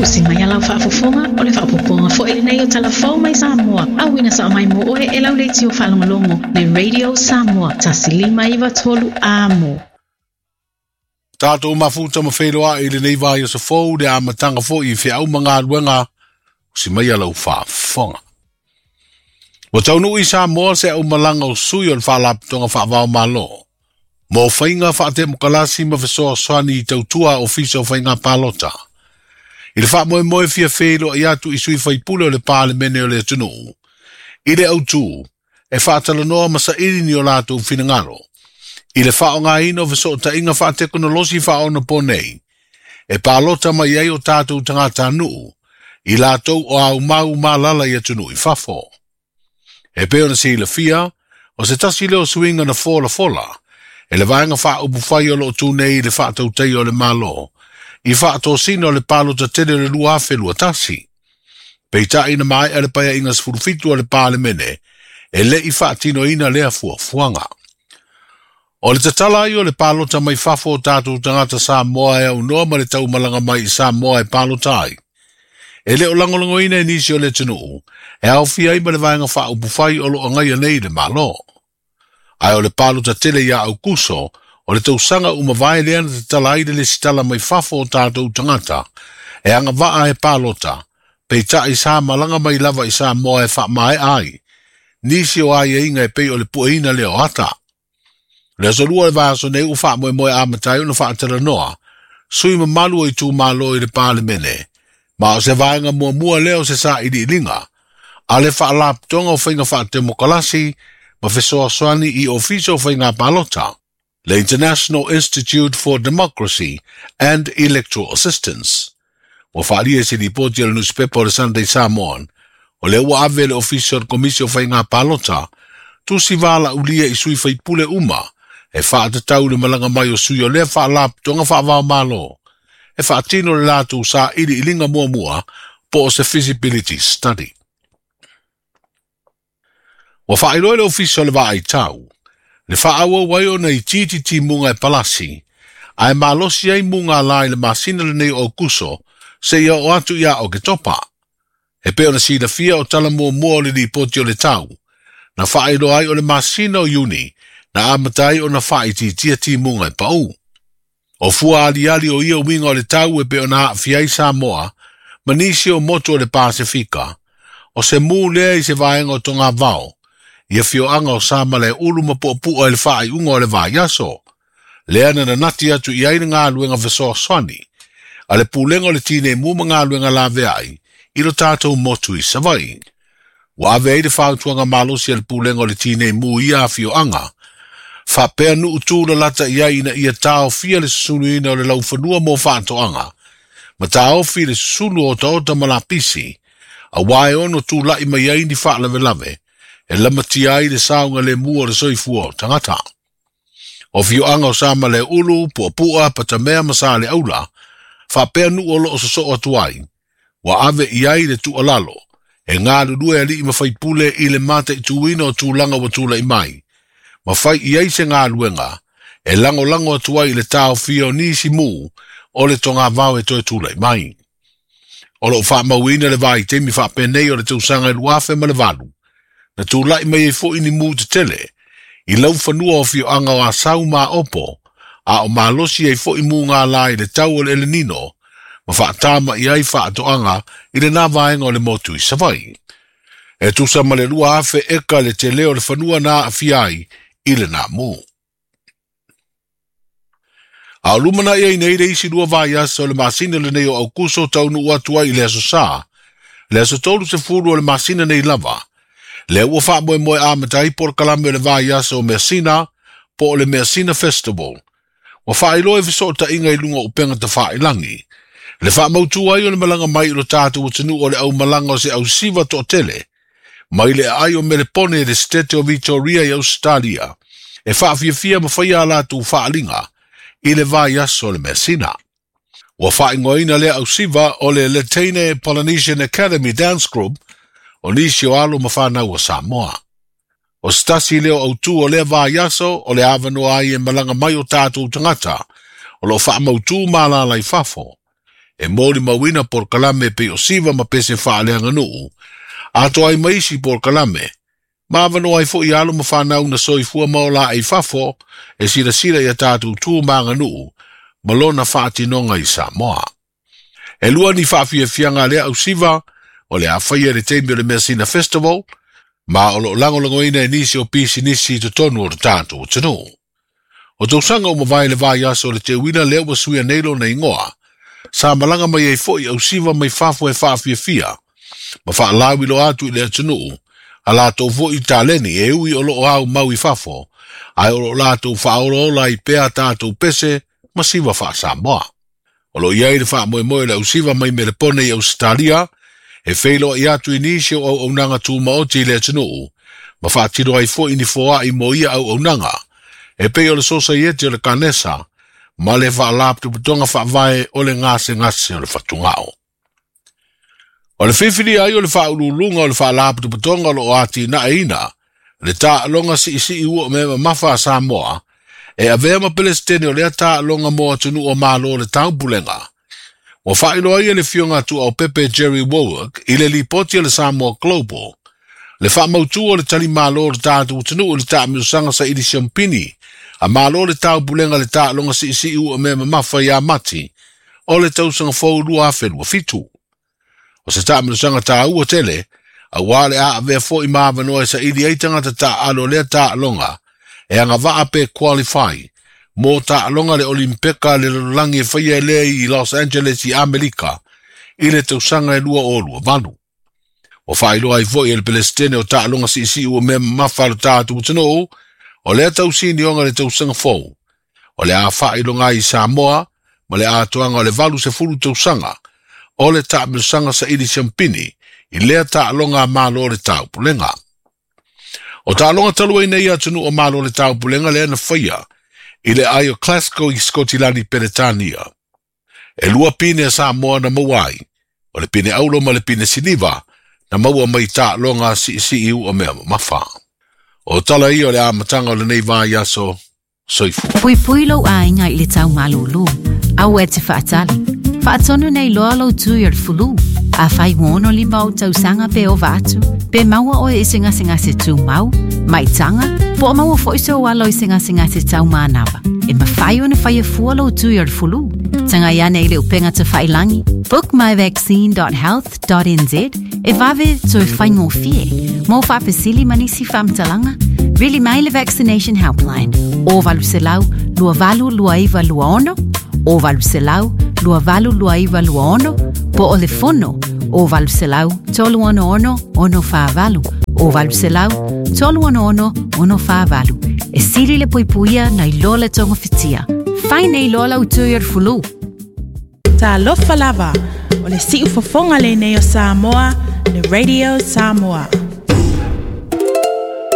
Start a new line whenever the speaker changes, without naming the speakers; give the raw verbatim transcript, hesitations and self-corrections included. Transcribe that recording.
Usi mai alau faafofoga o le faapopoga foi lenei o Talafou mai Samoa. Auina sa mai mo oe e lau leitio faalogologo le Radio Samoa tasi lima iva tolu amo.
Tātou mafuta ma wheloa i lenei vai o sa fou le amataga foi i feau ma galuega usi mai alau faafofoga. Ua taunuu i Samoa se aumalaga o sui o le faalapotopotoga faavaomalo. Mo faiga faatemokalasi ma fesoasoani i tautua ofisa o faiga palota. I le faamoemoe fia feiloai atu i sui faipule o le Palemene o le atunuu. I le autū, e faatalanoa ma saili ni o latou finagalo. I le faaaogaina o fesootaiga faatekonolosi faaonaponei, e palota mai ai o tatou tagatanuu, i latou o aumau malala i atunuu i fafo. E pei ona silafia, o se tasi lea o suiga na folafola, e le vaega faaupufai o loo tu nei i le faatautaia o le Malo, i faatosina o le palota tele o le lua afe lua tasi. Peitai na maea le paeaiga sefulu fitu o le Palemene, e le i faatinoina lea fuafuaga. O le tatala ai o le palota mai fafo o tatou tagata Samoa e aunoa ma le taumalaga mai i Samoa e palota ai. E le o lagolagoina e nisi o le atunuu, e aofia ai ma le vaega faaupufai o loo agaia nei le Malo. Ae o le palota tele ia Aukuso, o le tausaga ua mavae lea na tatala ai le lesitala mai fafo o tatou tagata, e agavaa e palota, peitai sa malaga mai lava i Samoa e faamaea ai, nisi o aiaiga e pei o le pueina lea o ata. Le aso lua o le vaiaso nei ua faamoemoe amata ai ona faatalanoa, sui mamalu o itumalo i le Palemene, ma o se vaega muamua lea o se sailiiliga, a le faalapotopotoga o faiga faatemokalasi ma fesoasoani i ofisa o faiga palota, le International Institute for Democracy and Electoral Assistance. Ua faaalia i se lipoti a le nusipepa o le Sunday Samoan, o lea ua ave le ofisa o le Komisi o Faiga Palota, tusi valaulia i sui faipule uma, e faatatau le malaga mai o sui o lea faalapotopotoga faavaomalo, e faatino le latou sailiiliga muamua po o se feasibility study. Ua faailoa le ofisa o le vaaitau, le faaauau ai ona itiiti timuga e palasi, ae malosi ai mugala i le masina lenei o Aukuso, seia oo atu ia Oketopa. E pei ona silafia o tala muamua o le lipoti o le tau, na faailoa ai o le masina o Iuni, na amata ai ona faaitiitia timuga e pau. O fua aliali o ia uiga o le tau e pei ona aafia ai Samoa, ma nisi o motu o le Pasefika, o se mu lea i se vaega o togavao, i afioaga o Samalaeulu ma Puapua i le faaiuga o le vaiaso. Lea na nanati atu i ai le galuega fesoasoani, a le pulega o le tineimu ma galuega laveai, i lo tatou motu i Savaii. Ua ave ai le fautuaga malosi a le pulega o le tineimu i ia afioaga, faapea nuu tulalata i ai ina ia taofia le susuluina o le laufanua mo faatoaga, ma taofi le susulu o otaota ma lapisi, auā e ono tulai mai ai ni faalavelave, e lamatia ai le saogalemu o le soifua o tagata. O afioaga o Samalaeulu, Puapua, Patamea ma Saleaula, faapea nuu o loo sosoo atu ai, ua ave i ai le tuualalo, e galulue alii ma faipule i le mataituina o tulaga ua tulai mai, ma fai i ai se galuega, e lagolago atu ai i le taofia o nisi mu o le togavao e toe tulai mai. O loo faamauina le vaitaimi faapenei o le tausaga e lua afe ma le valu, na tulai mai ai foi ni mu tetele, i laufanua o afioaga o Asau ma Aopo, a o malosi ai foi mugala i le tau o le El Nino, ma faatama i ai faatoaga i lena vaega o le motu i Savaii. E tusa ma le lua afe eka le tele o le fanua na aafia ai i lena mu. A o lumanai ai nei le isi lua vaiaso o le masina lenei o Aukuso taunuu atu ai i le aso Sa, le aso tolu sefulu o le masina nei lava, lea ua faamoemoe amata ai polokalame o le vaiaso o Measina po o le Measina Festival. Ua faailoa e fesootaiga i luga o upega tafailagi, le faamautu ai o le malaga mai i lo tatou atunuu o le aumalaga o se ausiva toatele, mai le aai o Melepone i le Setete o Victoria i Ausetalia, e faafiafia ma faia a latou faaliga i le vaiaso o le Measina. Ua faaigoaina lea ausiva o le Letaine Polynesian Academy Dance Group o nisi o alo ma fanau a Samoa. O se tasi lea o autū o lea vaiaso o le avanoa ai e malaga mai o tatou tagata, o loo faamautū malala i fafo, E molimauina polokalame pei o siva ma pese faaleaganuu atoa ai ma isi polokalame ma avanoa ai foʻi alo ma fanau na soifua ma ola i fafo e silasila ia tatou tu ma aganuu ma lona faatinoga i Samoa. E lua ni faafiafiaga a lea ausiva o le a faia le taimi o le Measina Festival ma o loo lagolagoina e nisi o pisinisi i totonu o le tatou atunuu. O tausaga ua mavae le vaiaso o le teuina lea ua suia nei lona igoa sa malaga mai ai foʻi ausiva mai fafo e faafiafia ma faalauiloa atu i le atunuu a latou foʻi taleni e ui o loo aumau i fafo ae o loo latou faaolaola ai pea tatou pese ma siva faasamoa. O loo i ai le faamoemoe o le ausiva mai Melepone i Ausetalia e feiloai atu i nisi o auaunaga tumaoti i le atunuu ma faatino ai foʻi ni foaʻi mo ia auaunaga e pei o le Sosaiete o le Kanesa ma le Faalapotopotoga Faavae o le Gasegase o le Fatugao. O le filifili ai o le faauluuluga o le Faalapotopotoga o loo atinaeina le taaloga siisii ua mea mamafa a Samoa e avea ma Pelesitene o lea taaloga mo atunuu o Malo o le Taupulega. Ua faailoa ai e le afioga Tuaopepe Jerry Wallwork i le lipoti a le Samoa Global le faamautu o le talimalo o le tatou atunuu i le taamilosaga saili siamupini a Malo le Taupulega le taaloga siisii ua mea mamafa ia Mati o le tausaga fou lua afe lua fitu. O se taamilosaga taua tele auā le a avea foʻi ma avanoa e saili ai tagata taaalo lea taaloga e agavaa pe qualify mo taaloga le Olimpeka le lalolagi e faia e lea i Los Angeles i Amerika i le tausaga e lua o lua valu. Ua faailoa ai foʻi e le Pelesitene o taaloga siisii ua mea mamafa a le tatou atunuu o lea tausinioga le tausaga fou o le a faailoga ai i Samoa ma le atoaga o le valu sefulu tausaga o le taamilosaga saili siamupini i lea taaloga a Malo o le Taupulega. O taaloga talu ai nei atunuu o Malo o le Taupulega lea na faia i le ai o Glasgow i Skotilani Peretania. E lua pine a Samoa na maua ai, o le pine auro ma le pine siliva na maua mai taaloga siisii ua mea mamafa. O tala ia o le amataga o lenei vaiaso. Soifua.
Puipui lou aiga i le taumalūlū. Aua e te faatali. Faatonu nei loa lou tui o le fulu. Afai ua ono lima ou tausaga pe ova atu, pe maua oe i se gasegase tumau, maitaga, po o maua foi sou alo i se gasegase taumanava. E mafai ona faia fua lou tui o le fulu. Tagai ane i le upega tafailagi book my vaccine dot health dot n z e vave toe faigofie. Mo faafesili ma nisi faamatalaga, vili mai le Vaccination Helpline o valu selau lua valu lua iva lua ono, o valu selau lua valu lua iva lua ono, po o le fono o valu selau tolu ono ono ono whaavalu, o valu selau tolu ono ono ono whaavalu. E sili le puipuia nai loa le togofitia. Fai nei loa lau tui o le fulu.
Talofa lava, o le siufofoga lenei o Samoa, le Radio Samoa.